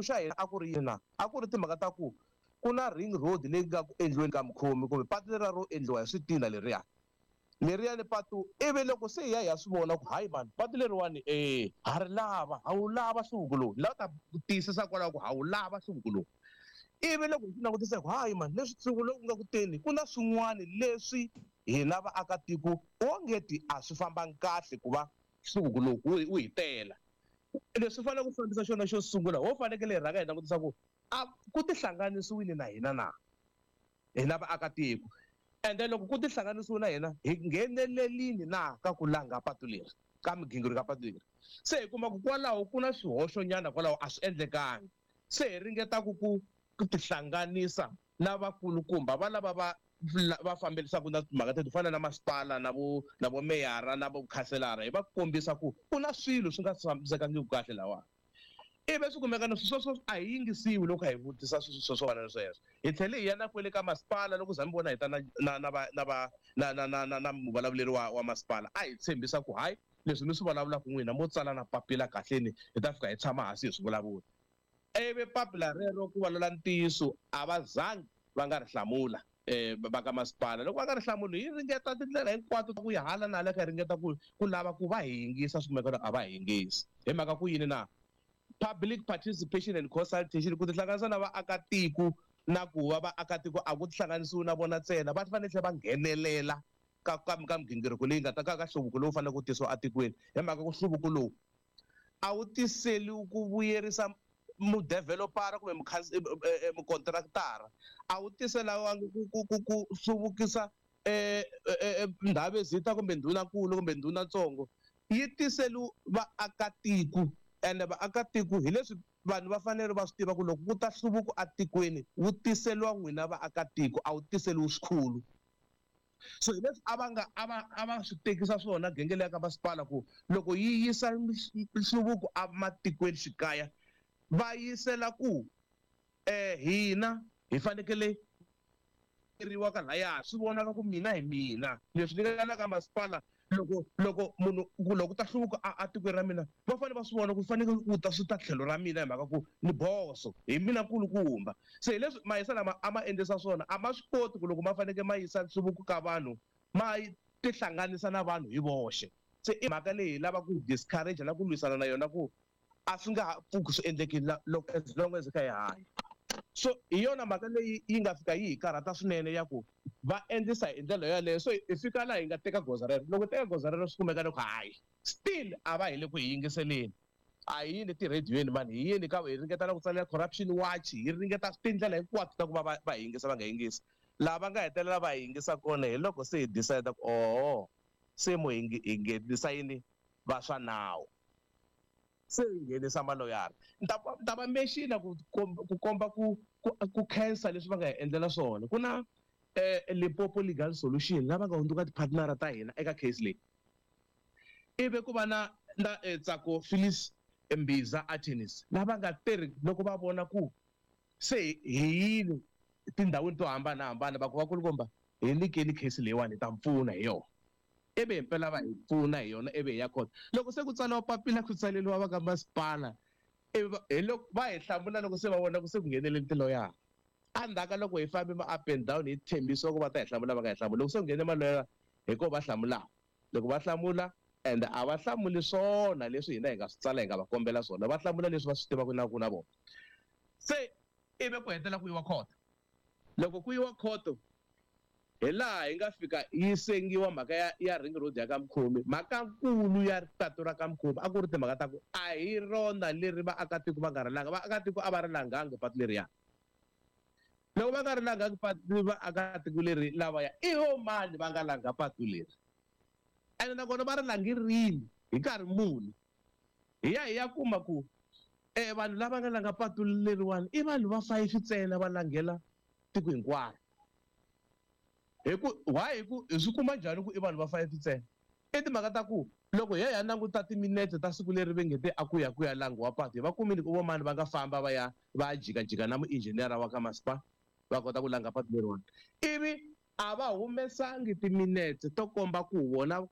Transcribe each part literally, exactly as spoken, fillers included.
Xa hina a ku ri yini na? A ku ri timhaka ta ku ku na ring road leyi nga ku endliweni ka Mukhomi, kumbe patu leriya ro endliwa hi switina leriya. Leriyani patu, ivi loko se hi ya hi ya swi vona ku hayi mani, patu leriwani e ha ri lava, ha wu lava nhluvuko lowu. Ni lava ta tiyisisa kwalaho ku ha wu lava nhluvuko lowu. Ivi loko hi swi langutisa ku hayi mani, leswi nhluvuko lowu nga ku teni, ku na swin'wana leswi hina vaakatiko ongeti a swi fambangi kahle ku va nhluvuko lowu wu, wu hi tela. Leswi fanele ku fambisa xona xo sungula, ho fanekele hi rhanga hi langutisa ku a ku tihlanganisiwile na hina na, hina vaakatiko. Ende loko ku tihlanganisiwe na hina, hi nghenelelini na ka ku langa patu leri, ka migingiriko ka patu leri. Se hi kuma ku kwalaho ku na swihoxonyana kwalaho a swi endlekangi. Se hi ringeta ku, ku, ku tihlanganisa na vakulukumba va lava va, va fambelisaka na timhaka teto, ku fana na masipala na vo, na vo meyara na vo khanselara, hi va kombisa ku ku na swilo swi nga tshamisekangiki kahle lawani. Ivi swi kumeka na swilo sweswo a hi yingisiwi loko hi vutisa swilo swo fana na sweswo. Hi tlhele hi ya na kwele ka masipala, loko za mi vona hi ta na, na, na va, na va, na, na, na, na, na muvulavuleri wa, wa masipala, a hi tshembisa ku hayi leswi mi swi vulavulaka n'wina mo tsala na papila kahleni, hi ta fika hi tshama hansi hi swi vulavula. Ivi papila rero ku vulavula ntiyiso a va zangi va nga ri hlamula, eh, va ka masipala. Loko va nga ri hlamuli, hi ringeta tindlela hinkwato ta ku ya hala na hala, kha hi ringeta ku, ku lava ku va hi yingisa, swi kumeka a va hi yingisi. Hi mhaka ku yini na? Public participation and consultation, ku tihlanganisa na vaakatiko na ku va vaakatiko a ku tihlanganisiwi na vona ntsena, va fanele tlhela va nghenelela ka, ka, ka migingiriko leyi nga ta ka, ka nhluvuko lowu faneleke ku tisiwa etikweni. Hi mhaka ku nhluvuko lowu a wu tiseli ku vuyerisa mudevelopara kumbe mukhansi-, eh, eh, eh, mukontraktara, a wu tisela ku, ku, ku, ku hluvukisa, eh, eh, eh, ndhavezita kumbe ndhunankulu kumbe ndhunatsongo. Yi tiseli vaakatiko, ende vaakatiko hi leswi vanhu va fanele va swi tiva ku loko ku ta nhluvuko etikweni wu tiseliwa n'wina vaakatiko, a wu tiseliwi swikhulu. So hi leswi a va nga, a va, a va swi tekisa swona genge leya ka masipala ku loko yi yisa nhluvuko ematikweni xikaya, va yisela ku, eh, hina hi fanekele riwa ka laya, swi vonaka ku mina hi mina. Leswi ni nga na ka masipala, loko, loko munhu, ku loko ta hluvuka a, a tikweni ra mina, va fanele va swi vona ku fanekele ku ta swi ta tlhelo ra mina hi mhaka ku ni boso, hi mina nkulukumba. Se hi leswi mayisa lama a ma endlisa swona, a ma swi koti ku loko ma fanekele ma yisa nhluvuko ka vanhu, ma tihlanganisa na vanhu hi voxe. Se i mhaka leyi hi lava ku discourage na ku lwisana na yona ku a swi nga ha pfuki swi endlekile la-, loko as long as hi kha hi hanya. So hi yona mhaka leyi yi nga fika yi hi karhata swinene ya ku va endlisa hi ndlela yaleyo. So hi fika laha hi nga teka goza rero. Loko hi teka goza rero swi kumeka loko hayi still a va hi le ku hi yingiseleni. A hi yini tirhediyweni mani, hi yini ka hi ringeta na ku tsalela Corruption Watch, hi ringeta tindlela hinkwato ta ku va va, va hi yingisa va nga yingisi. Laha va nga hetelela va hi yingisa kona hi loko se hi decide ku oho, se mo hi nge-, hi nghenisa yini va swa nawu. Se hi nghenisa maloyara. Ni ta va, ni ta va mention ku komba, ku komba ku, ku, ku khensa leswi va nga hi endlela swona. Ku na, eh, Limpopo Legal Solution lava nga hundzuka ti-partner ta hina eka case leyi. Ivi ku va na, na, eh, Tsako Phyllis Mbiza Attorneys lava nga tirhi loko va vona ku se hi yini tindhawini to hambanahambana, va ku vakulukumba hi nyikeni case leyiwani hi ta pfuna hi yona. Ivi himpela va hi pfuna hi yona, ivi hi ya court. Loko se ku tsariwa papila ku tsaleriwa va ka masipala, ivi va, hi loko va hi hlamula loko se va vona ku se ku nghenelele tiloyara. Endzhaku ka loko hi fambe ma up and down hi tshembisiwa ku va ta hi hlamula, va nga hi hlamuli. Loko se ku nghene maloyara hi ko va hlamulaka. Loko va hlamula, and a va hlamuli swona leswi hina hi nga swi tsala hi nga va kombela swona, va hlamula leswi va swi tivaka na ku na vona. Se ivi ku hetelela ku yiwa court. Loko ku yiwa court, hi laha hi nga fika yi sengiwa mhaka ya, ya ring road ya ka Mukhomi. Mhaka nkulu ya patu ra ka Mukhomi a ku ri timhaka ta ku a hi rona leri vaakatiko va nga ri langa. Vaakatiko a va ri langangi patu leriya. Loko va nga ri langangi patu vaakatiko leri lavaya, i vo mani va nga langa patu leri? Ene nakona va ri langi rini, hi nkarhi muni? Hi ya hi ya kuma ku, eh, vanhu lava nga langa patu leriwani i vanhu va five ntsena va langela tiko hinkwaro. Hi ku, why hi ku, hi swi kuma njhani ku i vanhu va five ntsena? I timhaka ta ku loko hi ya hi ya languta timinete ta siku leri va nge te a ku ya ku ya langiwa patu, hi va kumile ku vo mani va nga famba va ya va ya jikajika na muinjhiniyara wa ka masipala va kota ku langa patu leriwani. Ivi a va humesangi timinete to komba ku vona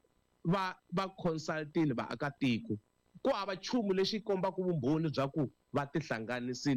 va, va consultile vaakatiko. Ku hava nchumu lexi kombaka vumbhoni bya ku Va tihlanganisile.